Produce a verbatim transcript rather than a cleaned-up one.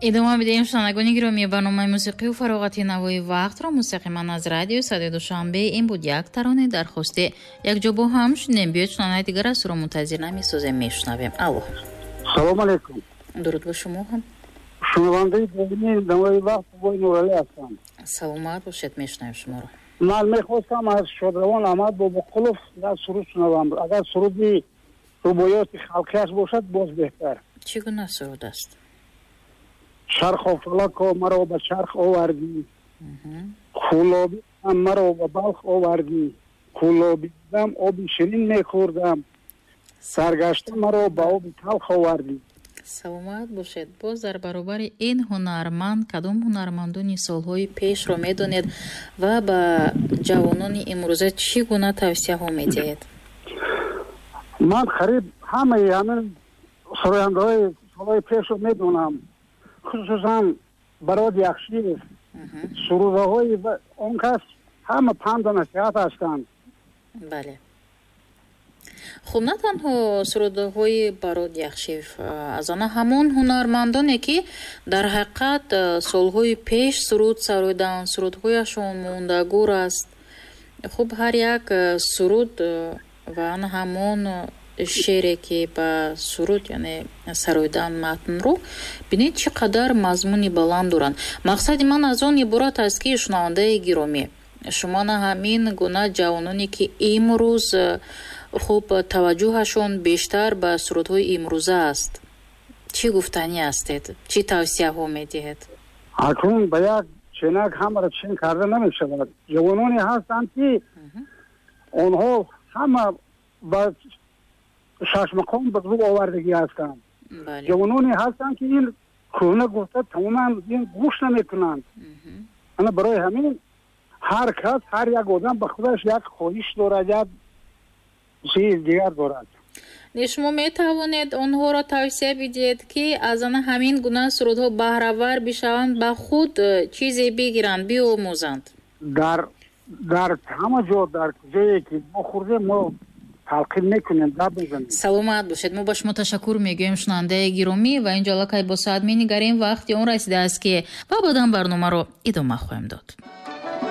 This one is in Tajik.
Идома медиҳем, шунавандагони гиромӣ, барномаи мусиқию фароғати «Навои вақтро» мустақиман аз радиои Садои Душанбе. Ин буд як таронаи дархостӣ, якҷо бо ҳам шунем. Биёед, шунавандаи дигар аз суро мунтазир намесозем, мешунавем. Алло. Салом алейкум. Дуруд ба шумо ҳам. Шунавандаи доимии «Навои вақт» Бобои Нуралӣ ҳастам. Саломат бошед, мешунавем шуморо. Ман мехостам аз шодравон Аҳмад Бобоқулов як суруд шунавам. Агар суруди рубоёти халқиаш бошад, боз беҳтар. Чӣ гуна суруд аст? Чарху фалако, маро ба чарх овардӣ, Кӯлобӣ маро ба Балх овардӣ, Кӯлобӣ будам, оби ширин мехӯрдам, саргашта маро ба оби талх овардӣ. Саломат бошед. Боз дар баробари ин ҳунарманд кадом ҳунармандони солҳои пешро медонед ва ба ҷавонони имрӯза чӣ гуна тавсияҳо медиҳед? Ман қариб ҳамаи ҳамин сарояндаҳои солҳои пешро медонам, хусусан Барод Яхшиев. Сурудаҳои он кас ҳама панду насиҳат ҳастанд. Бале, хуб, на танҳо сурудҳои Барод Яхшиев, аз ана ҳамон ҳунармандоне, ки дар ҳақиқат солҳои пеш суруд сароиданд, сурудҳояшон мондагор аст. Хуб, ҳар як суруд ва ана ҳамон шере, ки ба суруд, яъне сароидан матнро, бинед, чӣ қадар мазмуни баланд доранд. Мақсади ман аз он иборат аст, ки, шунавандаи гиромӣ, шумо на ҳамин гуна ҷавононе, ки имрӯз, хуб, таваҷҷӯҳашон бештар ба сурудҳои имрӯза аст, чӣ гуфтанӣ ҳастед, чӣ тавсияҳо медиҳед? Акнун ба як ченак ҳамаро чен карда намешавад. Ҷавононе ҳастанд, ки онҳо ҳама ба шашмақом ба рӯ овардагӣ ҳастанд. Ҷавононе ҳастанд, ки ин кӯҳна гуфта, тамоман ин гӯш намекунанд. Ана барои ҳамин ҳар кас, ҳар як одам ба худаш як хоҳиш дорад, як чиз дигар дорад. Не, шумо метавонед онҳоро тавсия бидиҳед, ки аз ана ҳамин гуна сурудҳо баҳравар бишаванд, ба худ чизе бигиранд, биомӯзанд? дар дар ҳама ҷо, дар ҷое ки мо хӯрдем, мо талқин мекунем, гап мезанем. Саломат бошед. Мо ба шумо ташаккур мегӯем, шунавандаи гиромӣ. Ва инҷо аллакай бо соат менигарем, вақти он расидааст, ки ва баъдан барномаро идома хоҳем дод.